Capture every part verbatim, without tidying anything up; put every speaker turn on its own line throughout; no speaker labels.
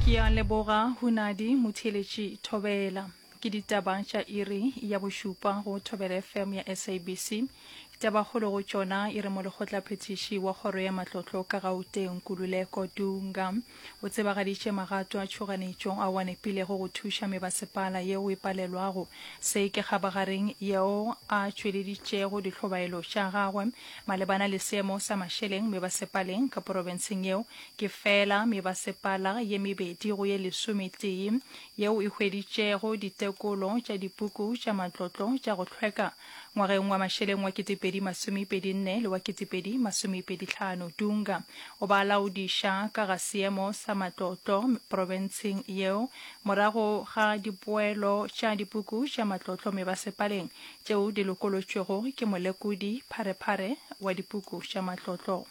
Ke a leboga Hunadi Motheeletši Thobela. Ke ditaba tša iri ya bošupa go Thobela F M ya S A B C. Tabakgolo go tšona e re molekgotlaphethiši wa kgoro ya matlotlo ka Gauteng Nkululeko Dunga o tsebagaditše magato a tšhoganetšo ao a nepilego go thuša mebasepala yeo e palelwago. Se ke kgabagareng yeo a tšweleditšego dihlobaelo tša gagwe malebana le seemo sa mašeleng mebasepaleng ka porofenseng yeo. Ke fela mebasepala ye mebedi go ye lesometee yeo e hweditšego ditekolo tša dipuku tša matlotlo tša go hlweka ngwageng wa mašeleng wa ketepedi masomepedi nne le wa ketepedi masomepedi hlano. Dunga o ba laodiša ka ga seemo sa matlotlo porofenseng yeo morago ga dipoelo tša dipuku tša matlotlo mebasepaleng tšeo di lokolotšwego ke molekodi pharephare wa dipuku tša matlotlo.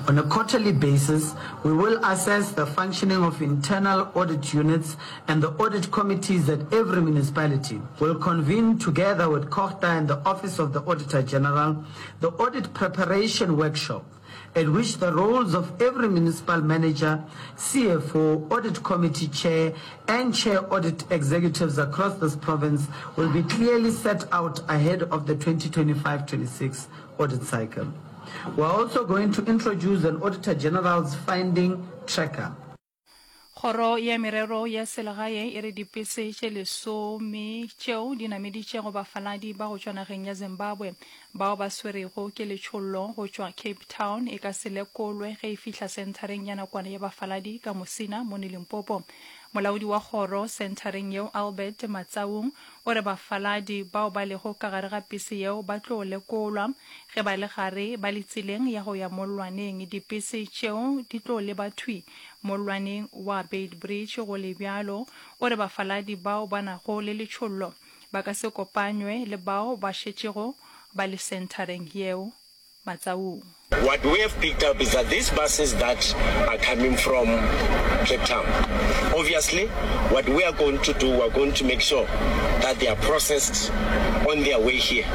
On a quarterly basis, we will assess the functioning of internal audit units and the audit committees at every municipality. We'll convene together with COGTA and the Office of the Auditor General the audit preparation workshop, at which the roles of every municipal manager, C F O, audit committee chair, and chair audit executives across this province will be clearly set out ahead of the twenty twenty-five twenty-six audit cycle. We're also going to introduce an Auditor General's finding tracker.
Kgoro ya Merero ya Selegae e re dipese tše lesome tšeo di nameditšego bafaladi ba go tšwa nageng ya Zimbabwe bao ba swerego ke letšhollo go tšwa Cape Town e ka se lekolwe ge e fihla senthareng ya nakwana ya bafaladi ka Musina mono Limpopo. Molaodi wa kgoro senthareng yeo Albert Matsaung o re bafaladi bao ba lego ka gare ga pese yeo ba tlo lekolwa ge ba le gare ba le tseleng ya go ya mollwaneng. Dipese tšeo di tlo leba thwi mollwaneng wa Beitbridge. Go le bjalo, o re bafaladi bao ba nago le letšhollo ba ka se kopanywe le bao ba šetšego ba le senthareng yeo. Matsaung.
What we have picked up is that these buses that are coming from Cape Town, obviously what we are going to do, we are going to make sure that they are processed on their way here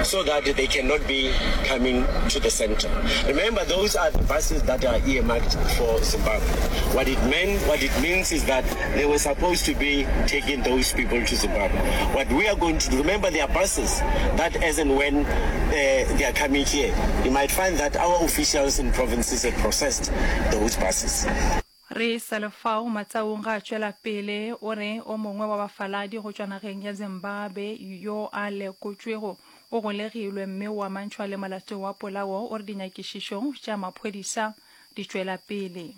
so that they cannot be coming to the center. Remember, those are the buses that are earmarked for Zimbabwe. What it meant, what it means is that they were supposed to be taking those people to Zimbabwe. What we are going to do, remember, there are buses that as and when uh, they are coming here, you might find that our officials in provinces have processed those buses.
Re sa le fao, Matsaung ga a tšwela pele o re o mongwe wa bafaladi go tšwa nageng ya Zimbabwe yo a lekotšwego o golegilwe mme o amantšhwa le molato wa polao. O re dinyakišišo tša maphodisa di tšwela pele.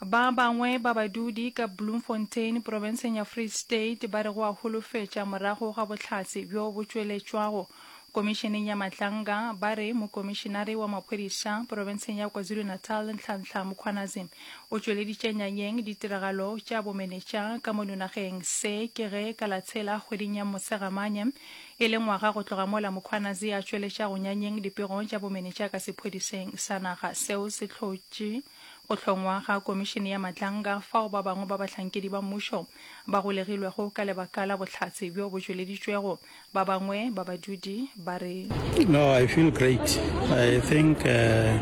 Ba bangwe ba badudi ka Bloemfontein profenseng ya Free State ba re go a holofetša morago ga bohlatse bjo bo tšweletšwago komišeneng ya Madlanga. Ba re mokomišenare wa maphodisa profenseng ya KwaZulu-Natal Nhlanhla Mkhwanazi o tšweleditše nyanyeng ditiragalo tša bomenetša ka mono nageng. Se ke ge ka la tshela kgweding ya Mosegamanye e le ngwaga go tloga mola Mkhwanazi a tšweletša go nyanyeng dipego tša bomenetša ka sephodiseng sa naga. Seo se hlotše go hlongwa ga komišene ya Madlanga, fao ba bangwe ba bahlankedi ba mmušo ba golegilwego ka lebaka la bohlatse bjo bo tšweleditšwego. Ba bangwe ba badudi ba re.
No, I feel great. I think uh,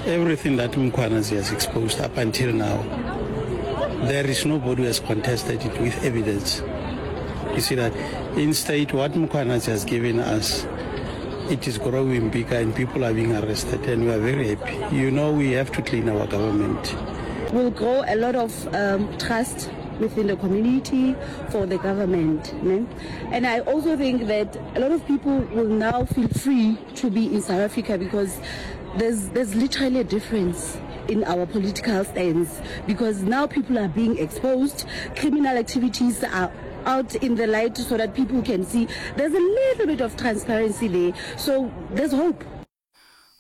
everything that Mkhwanazi has exposed up until now, there is nobody who has contested it with evidence. You see that instead what Mkhwanazi has given us, it is growing bigger and people are being arrested, and we are very happy. You know, we have to clean our government.
Will grow a lot of um, trust within the community for the government. Ne? And I also think that a lot of people will now feel free to be in South Africa because there's, there's literally a difference in our political stance, because now people are being exposed, criminal activities are out in the light so that people can see. There's a little bit of transparency there. So there's hope.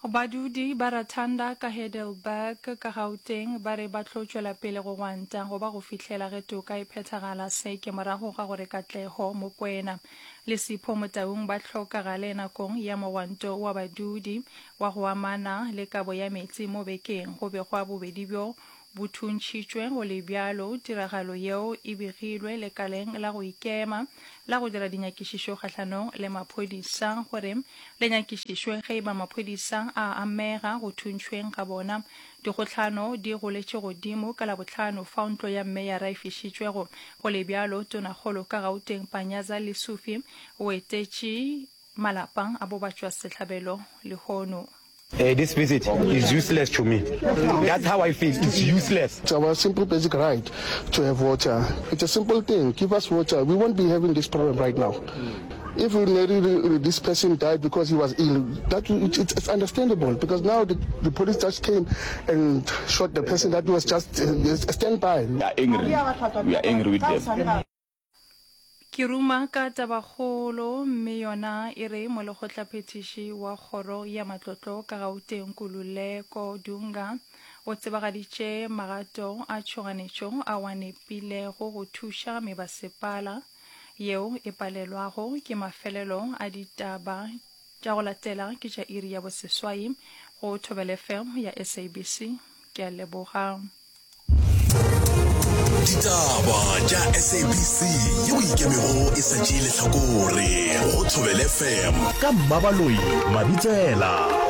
Badudi ba Rathanda ka Heidelberg ka Gauteng ba re ba tlo tšwela pele go gwanta go ba go fihlela ge toka e phethagala. Se ke morago ga gore Katlego Mokwena le Sipho Motaung ba hlokagale nakong ya mogwanto wa badudi wa go amana le kabo ya meetse mo bekeng. Go begwa bobedi bjo bo thuntšhitšwe. Go le bjalo, tiragalo yeo e begilwe lekaleng la go ikema la go dira dinyakišišo kgahlanong le maphodisa gore le nyakišišwe ge e ba maphodisa a amega go thuntšhweng ga bona. Dikgohlano di goletše godimo ka Labohlano fao ntlo ya meyara e fišitšwego. Go le bjalo, Tonakgolo ka Gauteng Panyaza Lesufi o etetše malapa a bobatšwasehlabelo lehono.
Uh, this visit is useless to me. That's how I feel. It's useless.
It's our simple basic right to have water. It's a simple thing. Give us water. We won't be having this problem right now. If we really, this person died because he was ill, that it's, it's understandable because now the, the police just came and shot the person that was just uh, a standby.
We are angry. We are angry with them.
Ke ruma ka tabakgolo mme yona e re molekgotlaphethiši wa kgoro ya matlotlo ka Gauteng Nkululeko Dunga o tsebagaditše magato a tšhoganetšo ao a nepilego go thuša mebasepala yeo e palelwago ke mafelelo a ditaba tša go latela ke tša iri ya boseswai go Thobela F M ya S A B C. Ke a leboga.
Ditaba tša S A B C yeo ikemego e sa tšee lehlakore go Thobela F M ka Mmabaloi Mabitsela.